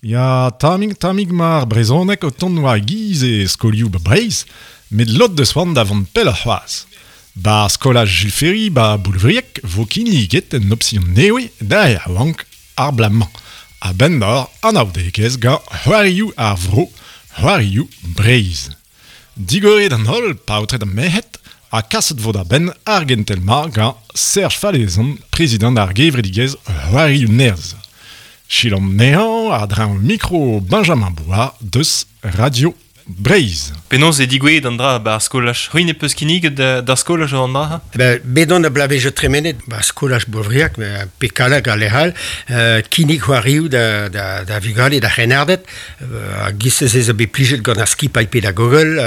Ya, tammig, tammig 'ma ar brezhoneg o tont war giz e skolioù 'ba Breizh, met lod deus c'hoant da vont pelloc'h c'hoazh. 'Ba skolaj Jules Ferry 'ba Boulvriag 'vo kinniget un opsion nevez d'ar re yaouank ar bloaz-mañ, a-benn d'ober anaoudegezh gant c'hoarioù ar vro, c'hoarioù Breizh. Digoret an holl paotred ha merc'hed ha kaset 'vo da benn ar gentel-mañ gant Serge Falezon, prezidant ar gevredigezh C'hoarioù Nerzh. Selaomp anezhañ a-dreñv mikro Benjamin Bouard deus Radio Breizh. Penaos eo digouezhet an dra 'ba ar skolaj? C'hwi ne peus kinniget d'ar skolaj an dra? Ben, bet on a bloavezhioù tremenet 'ba skolaj Bourvriag, pe Kallag ha lec'h all, kinnig c'hoarioù da, da, da vugale, da c'hrennarded. Hag giz-se ez eo bet plijet gant ar skipailh pedagogel,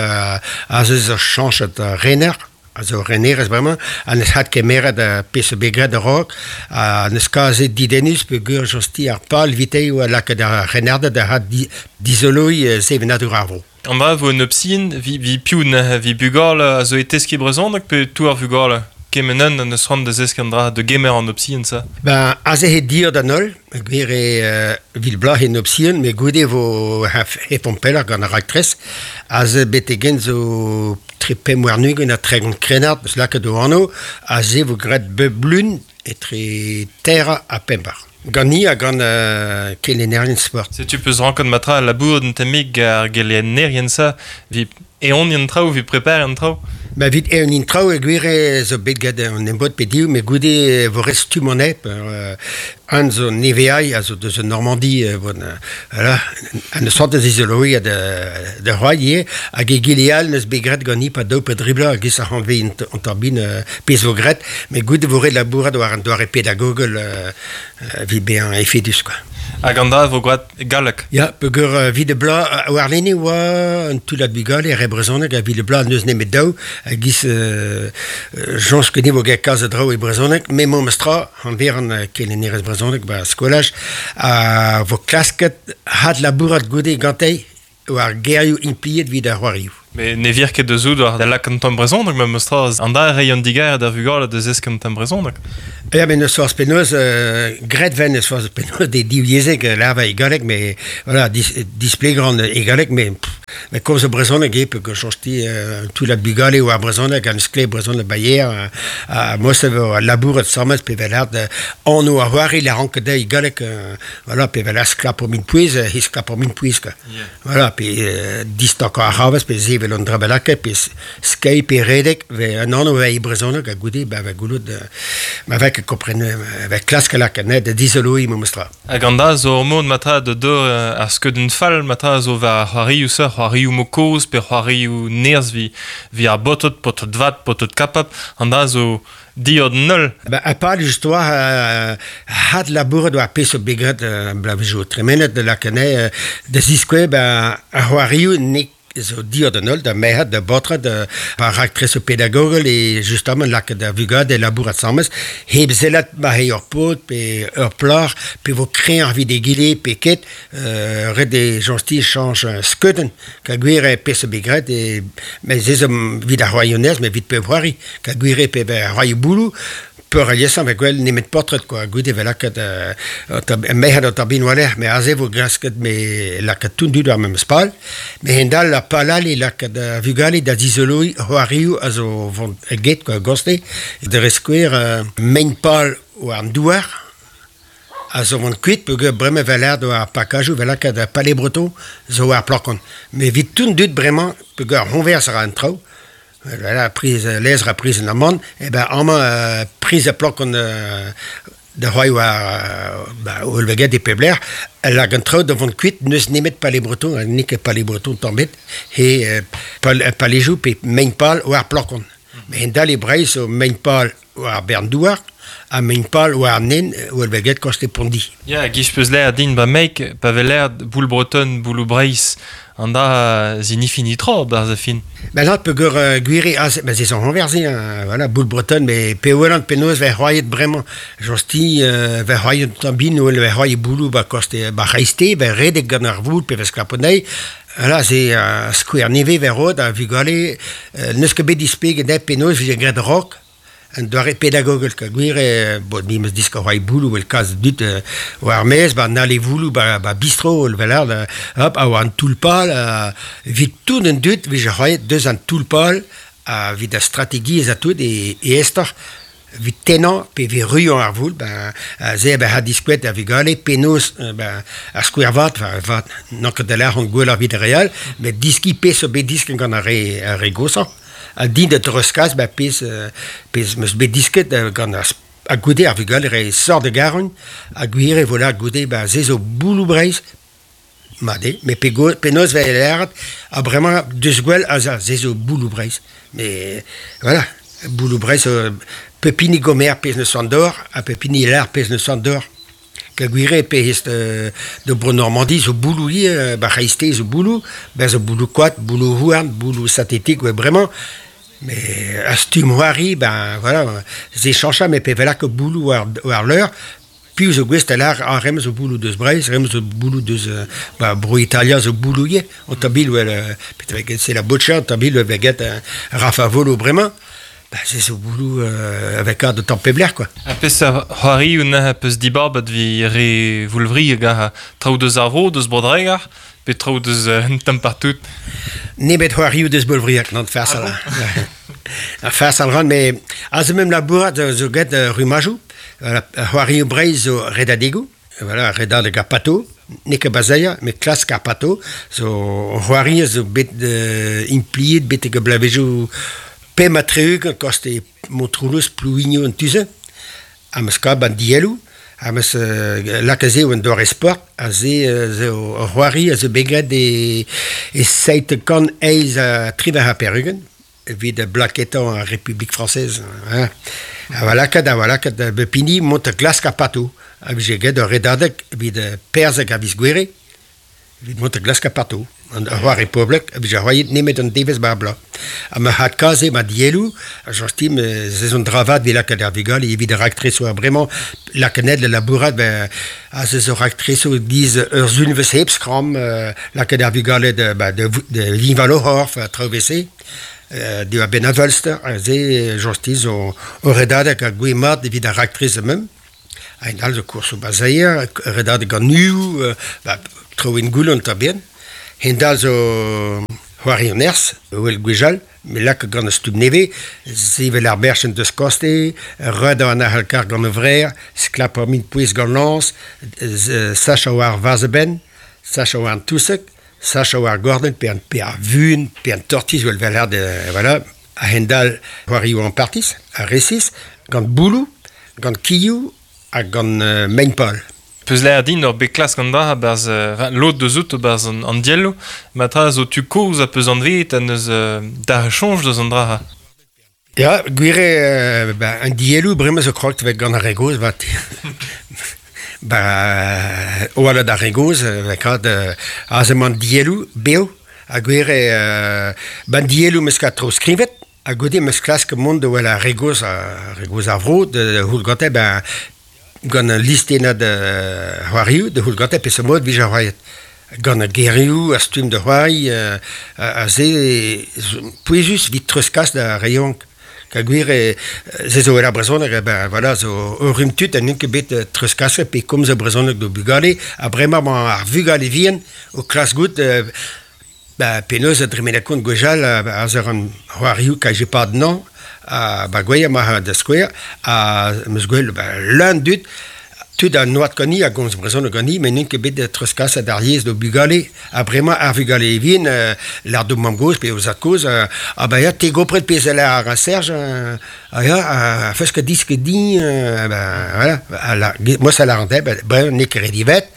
aze zo chañchet rener, a zo renerez bremañ, ha n'eus hat kemeret pezh zo bet graet a-raok, ha n'eus kazi didennus peogwir josti ar pal evite eo lakaat ar renarded da had dizoloiñ sevenadur ar vro. An dra vo un option, vi, vi piv neuze, vi bugale a zo e teskiñ brezhoneg pe tout ar vugale? Kement un an eus c'hoant da zeskiñ an dra, da gemer an option ça? Ben, aze eo dir d'an holl, gwir eo vil bloaz en option, met goude e vo hefomp pelloc'h gant ar raktres. Aze betek-henn zo tre 25 ha 30 krennard eus lakaet o anv, aze vo graet bep lun etre teir ha pemp eur. Gant-ni ha gant kelennerien sport. Setu peus ranket matra labourat un tammig ar gelennerien-se evit eeuniñ an traoù, evit prepariñ an traoù? Ba evit eeuniñ traoù e gwir eo zo bet graet an embod pe div, met goude e vo ret stumm an aep. Un zo neveai a zo deus an Normandi, bon, voilà, an eus c'hoant da zizoloiñ da c'hoari ivez, hag egile all n'eus bet graet ganit pa daou pe dri bloaz e-giz ar c'hantved an turbin pezh vo graet, met goude e vo ret labourat war an doare pedagogel evit bezañ efedus quoi. Hag an dra e vo graet e galleg? Ya, peogwir evit e bloaz, warlene oa un toullad bugale re brezhoneg, evit e bloaz n'eus nemet daou, a-giz soñj ket vo get kalz a draoù e brezhoneg, met memes tra, hanveran kelennerez brezhoneg ba skolaj, a vo klasket hadlabourat goude gante war gerioù implijet evit ar c'hoarioù. Met ne vir ket da zout war da lakaat an tamm brezhoneg memes tra. An da reiñ an digarez d'ar vugale da zeskiñ an tamm brezhoneg. Ya, met n'eus forzh penaos, graet 'ven n'eus forzh penaos d'e divyezhek larva e galleg, mais voilà, dis, displegañ e galleg, mais met komz e brezhoneg eo peogwir soñj-ti un toullad bugale war brezhoneg ha n'eus ket brezhoneg bayer ha moset vo labourat samet pe vel anv ar c'hoari la rank dezhi galleg voilà, pe vel sklapo min pouez, he sklapo min pouez quoi. Voilà, pe distakañ ar c'havez, pe sevel un dra bennaket, pe skeiñ pe redek, ve un anv e brezhoneg ha goude ba va goulout ma vez ket kompren va klask lakaat net da dizoloiñ memes tra. Hag an dra zo ur mod matra da deur ar skeudenn fall matra zo war c'hoarioù seurt c'hoarioù mo kozh pe c'hoarioù nerzh vi vi ar baotred, paotred vat, paotred kapab, an dra zo Diod null. Ba, e-pad istor had labourat war pezh zo bet graet bloavezhioù tremenet da lakaat anezhe da ziskouez ba ar c'hoarioù n'eo zo diod an holl da merc'hed, da baotred, ar raktresoù pedagogel e justement lakaat ar vugale labourat asambles hep sellat ma eo ur paotr pe ur plac'h pe vo kreñv evit egile pe ket ret eo soñj chañch skeudenn Ka gwir eo pezh zo bet graet e met se zo evit ar c'hoarioù-nerzh met evit pep c'hoari. Ka gwir eo pep c'hoarioù bouloù peurliesañ vez gwell nemet paotred quoi. Goude vez lakaet merc'hed an tabin war-lerc'h met aze vo klasket me lakaat tout an dud war memes pal. Met hend-all ar pal all eo lakaat ar vugale da zizoloiñ c'hoarioù a zo vont get quoi goste. Dre skouer mein pal war an douar A zo vont kuit peogwir bremañ 'vel aet war ar pakajoù 'vel lakaat ar Palais Breton zo war ar plakon. Met evit tout an dud bremañ peogwir ar c'hoñvers a ra an traoù, voilà priz lezr ha priz an amann, eh ben amañ priz ar plakon da c'hoari war ba Olveget e pep lec'h, lak an traoù da vont kuit n'eus nemet Palais Breton ha n'eo ket Palais Breton tamm ebet, he palejoù pe mein-pal war ar plakon. Met hent-all e Breizh zo mein-pal war bern douar ha mein-pal war an hent well bet get koste Pondi. Ya, giz peus l'air din ba meik, pa vez l'air boul breton, boulou Breizh, an da zinifi nitra barzh a fin. Ben lat peogwir gwir eo aze, ben se zo renverse, hein, voilà, boul breton, mais pe welan penaos vez c'hoariet bremañ, josti vez c'hoariet un tamm bin, wel vez c'hoariet boulou ba koste ba c'hreiste, vez redek gant ar voul pe vez sklaponei, Voilà, se skouer nevez vez roet da vugale, n'eus ket bet displeget dezhe penaos e vije graet rock. Un doare pedagogel, ka gwir eo, bon, mi 'meus disket c'hoari bouloù evel kalz a dud war ar maez, ba an ale vouloù, ba bistro, evel hop, a oa an toull-pal, evit tout an dud 'vije c'hoariet deus an toull-pal, ha evit ar strategiezh ha tout e aesoc'h evit tennañ pe evit ruilhañ ar voul, ben se ben ha diskouet da vugale penaos ben ar skouer vat, vat n'on ket da lâret gwelloc'h evit ar re all, met diskiñ pezh zo bet disket gant ar re goshañ. Ha din da dreuzkas ba pezh pezh 'meus bet disket gant ar ha goude ar vugale re sort da garoñ ha gwir eo voilà goude ba se zo bouloù Breizh mat eo met penaos 'vez lâret ha bremañ deus gwell ha se zo bouloù Breizh mais voilà bouloù Breizh pep hini gomer pezh 'neus an dor ha pep hini lâr pezh 'neus an dor. Peogwir eo pezh da Bro-Normandi zo bouloù ivez, ba c'hreisteiz zo bouloù, ben zo bouloù koad, bouloù houarn, bouloù sintetik oa bremañ. Mais ar stumm c'hoari, ben voilà, se chañcha met pe lak bouloù war leur, piv zo gouest da lâr ah rem zo bouloù deus Breizh, rem zo bouloù deus ba Bro-Italia zo bouloù ivez, an tabil wel c'est la boccia, an tabil wel get Rafa Volo bremañ. Bah, c'est zo bouloù avec de tamm pep lec'h quoi. Ha peseurt c'hoarioù neuze peus dibabet evit re Voulvrieg ha traoù deus ar vro, deus Bro-Dreger, pe traoù deus un tamm partout? Nemet c'hoarioù deus Boulvriag, non farsal. Ah farsal ran, mais aze mem labourat zo get rumajoù. C'hoarioù Breizh zo redadegoù. Voilà, redadeg ar pato, n'eo ket bazailhañ, met klask ar pato zo c'hoari a zo bet impliet betek ar bloavezhioù 65 koste Montroulez, Plouigno an tu-se. Ha 'meus kavet an dielloù, ha 'meus lakaet se un doare sport, ha se zo ur c'hoari a zo bet graet e 788. Evit blaketañ ar Republik frañsez. Hein. Ha va lakaat, ha va lakaat bep hini mont da glask ar pato. A vije get ur redadeg evit perzhek a viz Gouere, evit mont da glask ar pato. An c'hoari poblek a vije c'hoariet nemet an devezh bar bloaz. Ha ma adkaze ma dielloù, a soñj ez on dra vat evit lakaat ar vugale evit ar raktresoù a bremañ, lakaat da labourat, ben, aze zo raktresoù giz ur sulvezh hep skramm, lakaat ar vugale da, ba, da, da liñval o c'horf, traoù evel-se. Diwar-benn ar Wölster, aze Josti zo ur redadeg a gouez mat evit ar raktres mem. Hag all zo koursoù bazailher, redadeg an uioù, ba, traoù en goullont a-benn. Hend-all zo c'hoari an nerzh, wel gwechall, me lak gant ar stumm nevez, sevel ar berchenn deus koste, redañ an ahalkar gant e vrec'h, sklapañ min pouez gant lañs, sachañ war vazh-e-benn, sachañ war an touseg, sachañ war gordenn pe an pe ar vun pe an tortiz vel vel voilà a-hend-all c'hoarioù ampartiz ha resis gant bouloù gant kilhoù ha gant mein-pal. Peus lâret din ur bet klask an dra a-barzh lod deus out a-barzh an dielloù ma tra zo tu kozh ha peus anveet ha neus dalc'h soñj deus an dra. Ya, gwir eo, ba, an dielloù bremañ zo kroget vet gant ar re gozh 'vat. Ba, oaled ar re gozh, kad aze emañ an dielloù bev ha gwir eo, ba an dielloù 'meus ket treuzskrivet ha goude 'meus klask mont da wel ar re gozh, ar re gozh ar vro da c'houl gante ba gant al listennad c'hoarioù da c'houl gante peseurt mod 'vije c'hoariet. Gant ar gerioù a stumm da c'hoari a se pouezus evit treuzkas d'ar re yaouank. Peogwir se zo el ar brezhoneg, ben voilà, zo ur rumm tud ha n'int ket bet treuzkaset pe komz brezhoneg d'o bugale ha bremañ emañ ar vugale vihan o klask goût ben penaos a dremen kont gwechall aze an c'hoarioù KGPAD nañ ha ba gwezh ma da skouer ha 'm eus gwel ben leun dud tud a noad gani a gomz brezhoneg gani met n'int ket bet treuzkaset ar yezh d'o bugale ha bremañ ar vugale vihan lâr d'o mamm-gozh pe o zad-kozh ah ben ya te gopret pezh a lâr ar Serge ah ya fes ket disket din ben voilà moi ça lâr an ben bremañ n'eo ket re diwezhat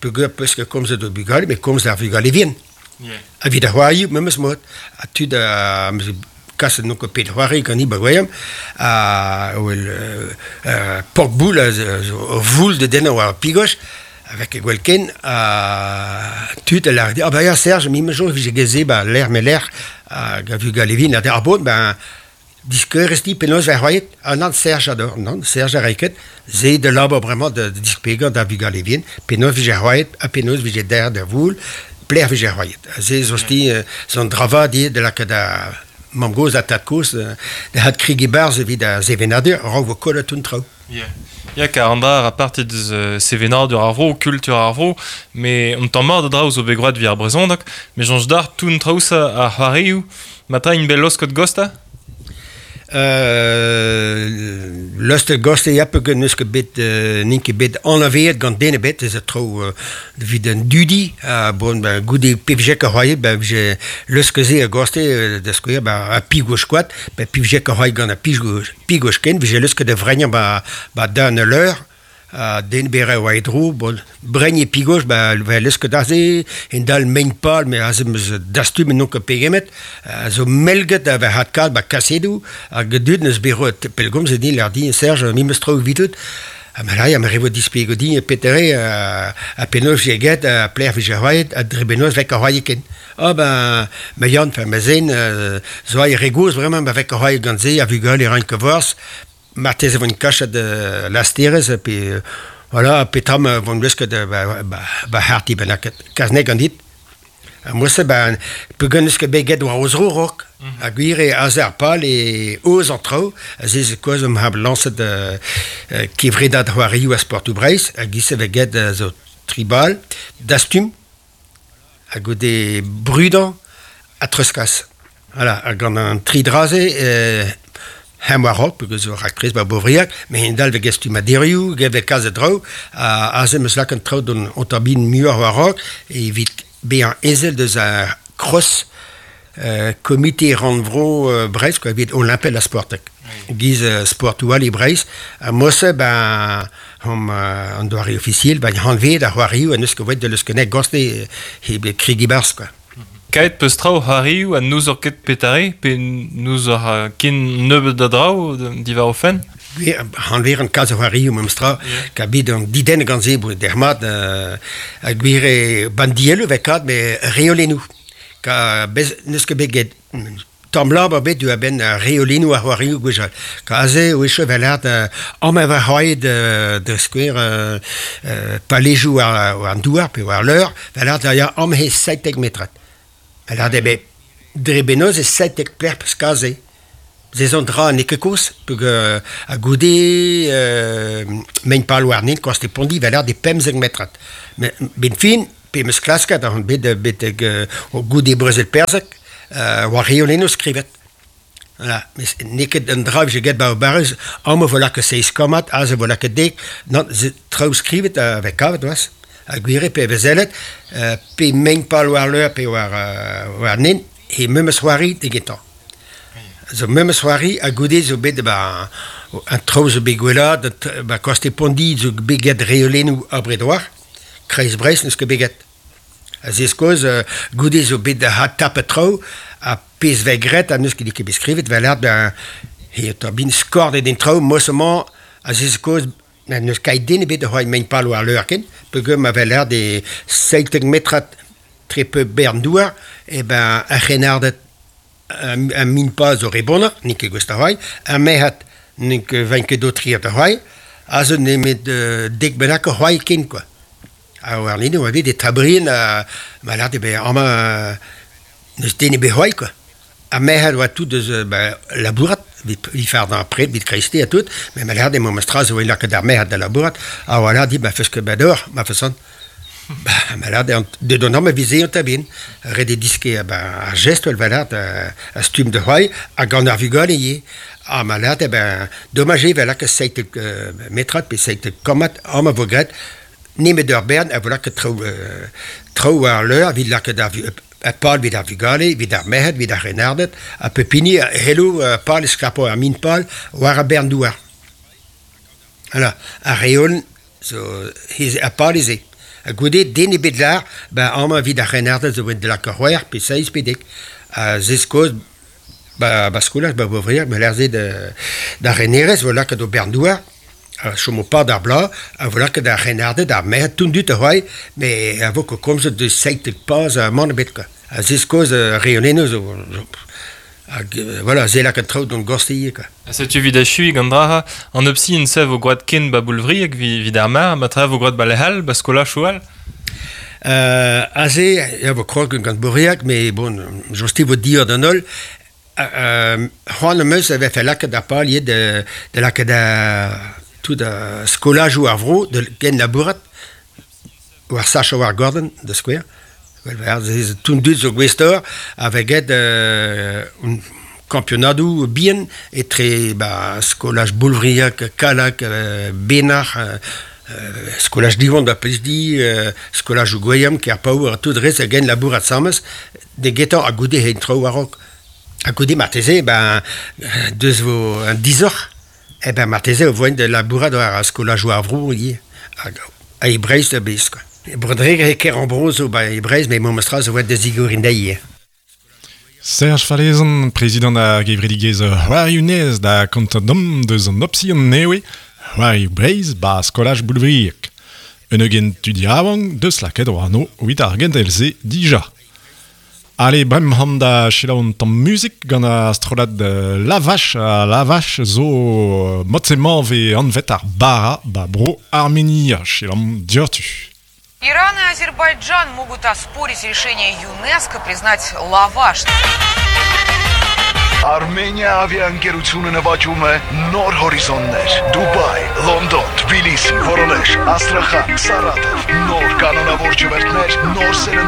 peogwir peus ket komzet d'o bugale met komz d'ar vugale vihan Evit ar c'hoarioù memes mod ha tud a kaset n'on ket pet c'hoari ganit ba gwezhall ha wel pork-boul a zo ur voul da dennañ war ar pigos avec e gwell ken ha tud a lâr ah ba ya Serge me 'ma soñj 'vije get se ba lec'h ma lec'h hag a vugale vihan a ar bod ben Diskeurez dit penaos 'vez c'hoariet? Ah nann, Serge ador, nann, Serge a ray ket. Se da labour bremañ da displegañ d'ar vugale vihan penaos 'vije c'hoariet ha penaos 'vije derc'het da voul, pelec'h 'vije c'hoariet. Se zo sti zo un dra vat ivez da lakaat da Mamm-gozh ha tad-kozh da had krigi barzh evit ar sevenadur, a-raok vo kollet un traoù. Yeah. Ya, kar an dra a parti deus sevenadur ar vro, kultur ar vro, me un tamm mat a draoù zo bet gwraet evit ar brezhoneg, me soñj dac'h tout an traoù-se ar c'hoarioù, ma tra int bet laosket gosta? Lostet goste ya peogwir n'eus ket bet n'int ket bet anavezet gant den ebet ez a traoù evit an dudi ha bon ben goude pe vije ket c'hoariet ben vije leusket se a-goste da skouer ben ar pigouch-koad ben pe vije ket c'hoariet gant ar pigouch ken vije leusket da vreignañ ba ba dan ul leur Ha den berr e oa e dro, bon, brein e pigos, ba, ba leusket aze, en-dal mein-pal, met aze 'm eus dastumet n'on ket pegemet, a zo melget a vez adkavet ba kasedoù, hag dud 'neus bet roet pellgomzet din, lâr din, Serge, me 'm eus traoù evidout. Ha ma lâr, ma revo displeget din petere ha penaos vije get, ha pelec'h vije c'hoariet, ha dre penaos 'vez ket c'hoariet ken. Ah ben, ma Yann, enfin ma zen, zo aet re gozh bremañ, ma vez ket c'hoariet gant se, ar vugale 'raint ket forzh. Marteze e voint kachet lasterez pe voilà petra ma voint lesket ba c'harrti bennaket kas-ne ganit. Ha mod-se ben peogwir n'eus ket bet get war o zro raok. Ha gwir eo aze ar pal e aoz an traoù. Aze zo kaoz am ha lañset kevredad c'hoarioù ha sportoù Breizh hag giz-se vez get zo tri bal dastum ha goude brudañ ha treuzkas. Voilà, ha gant an tri dra-se hem war-raok peogwir zo raktres ba Beauvriac, met a-hend-all 'vez stummadurioù, get kalz a draoù, ha aze 'm eus lakaet an traoù d'an otabin muioc'h war-raok evit bezañ ezel deus ar cross komite rannvro Breizh quoi, evit olimpel ha sportek. Giz sportoù all e Breizh. Ha mod-se ben hom an doare ofisiel, ben hanvet ar c'hoarioù ha n'eus ket voet da leuskenet goste he kregi barzh quoi. Kaet peus traoù c'hoarioù ha n'ouzoc'h ket petare pe n'ouzoc'h ken nebeut a draoù diwar o fenn? Hanveren kalz a c'hoarioù memestra, ka bet an didenn gant se dermat ha gwir eo bandielloù 'vez kat met reolennoù. Ka bez n'eus ket bet get tamm labour bet diwar-benn ar reolennoù ar c'hoarioù gwechall. Ka aze e oa vel amañ va c'hoariet da skouer palejoù war an douar pe war leur, vel da ya amañ he 17 metrad. Vel eo bet dre benoz e 17 plec'h peus kaze. Se zo un dra n'eo ket kozh peogwir ha goude mein pal warnin koste Pondi vel de 15 metrad. Met 'benn fin pe 'm eus klasket on bet betek goude brezel Perzeg war reolennoù skrivet. Voilà, mes n'eo ket un dra vije get ba barrez, amañ vo lakaet seizh kammad, aze vo lakaet dek, nann, se traoù skrivet a vez kavet c'hoazh. Ha gwir eo pe vez sellet, pe mein pal war leur pe war war nen, he memes c'hoari egetañ. Zo memes c'hoari ha goude zo bet ba an traoù zo bet gwellaat, ba koste Pondi zo bet get reolennoù abred war. Kreiz Breizh n'eus ket bet get. Ha se skoz goude zo bet adtapet traoù ha pezh 'vez graet ha n'eus ket ket bet skrivet 'vel art ben he bin skordet en traoù moz-mañ ha se skoz n'eus ket den ebet da c'hoari mein pal war leur ken peogwir ma vel art e 17 metrad tre peu bern douar e ben ar c'hrennarded un min pa zo re bonner n'int ket gouest da c'hoari ar merc'hed n'int ket vaint ket d'aotrier da c'hoari aze nemet dek bennak o c'hoari ken quoi. Ha warlene oa bet e Tabrien ha ma lâret eo amañ n'eus den ebet c'hoazh quoi. Ha merc'hed oa tout deus ba labourat evit fardañ ar pred, evit kreisteiz ha tout, met ma lâret eo memes tra zo lakaet ar merc'hed da labourat ha voilà dit ma feus ket bet deoc'h ma fason. Ba ma lâret eo deut an amañ 'vit se an Tabrien. Ret eo diskiñ ba ar jestr 'vel lâret a stumm da c'hoari ha gant ar vugale ivez. Ha ma lâret eo ben domaj eo 'vel lakaat 17 metrad pe 17 kammad amañ 'vo graet Nemet ur bern a vo lakaet traoù traoù war al leur evit lakaat ar ar pal evit ar vugale, evit ar merc'hed, evit ar c'hrennarded, ha pep hini a c'hello pal e skrapo ar min-pal war ar bern douar. Voilà, ar reolenn zo ar pal eo se. Ha goude, den ebet 'lâr, ben amañ evit ar c'hrennarded zo bet lakaet c'hwec'h pe seizh pe dek. Ha se skoz ba ba skolaj, ba Beauvriac, ma lâr se d'ar renerez 'vo lakaet o bern douar. A chomo pad ar bloaz a vo lakaet ar c'hrennarded ar merc'hed tout-dud a c'hoari met a vo ket komzet deus 17 paz ha mann ebet quoi. Ha se skoz ar reolennoù zo hag voilà se lakaat traoù d'hon gorste ivez quoi. Ha setu evit achuiñ gant dra an opsi en-se vo gwraet ken ba Boulvriag evit ar mar, ma tra vo gwraet ba lec'h all, ba skolajoù all? Aze e vo krog gant Bourriag, met bon, josti vo dior d'an holl. C'hoant am eus e vefe lakaet ar pal ivez da lakaat tout ar skolajoù ar vro da genlabourat war sachañ war gordenn da skouer. Tout an dud zo gouest-eur a vez get kampionadoù bihan etre ba skolaj Boulvriag, Kallag, Benac'h, skolaj Diwan da Plesdi, skolajoù Gweilham, Kerpaour ha tout rez a genlabourat asambles da gentañ ha goude en traoù a-raok. Ha goude marteze ben deus vo un disoc'h eh ben marteze o voent da labourat war ar skolajoù ar vro ivez hag e Breizh da bezh quoi. E Bro-Dreger e Kerambro zo ba e Breizh met memestra zo voent da zigoriñ dezhi ivez. Serge Falezan, prezidant ar gevredigezh C'hoarioù Nez da kontañ deomp deus an opsion nevez C'hoarioù Breizh 'ba skolaj Boulvriag. Un ugent tud yaouank deus lakaet o anv evit ar gentel-se dija. Ale, bremañ da selaou un tamm muzik gant ar strollad Lavash. Ha Lavash zo mod-se-mañ 'vez anvet ar bara 'ba bro Armenia. Selaomp dioc'htu. Иран и Азербайджан могут оспорить решение ЮНЕСКО признать лаваш. Armenia ավիաընկերությունը նվաճում է նոր հորիզոններ։ Դուբայ, Լոնդոն, Թբիլիսի, Վորոնեժ, Աստրախան, Սարատով, նոր կանոնավոր չվերթներ, նոր սերնդի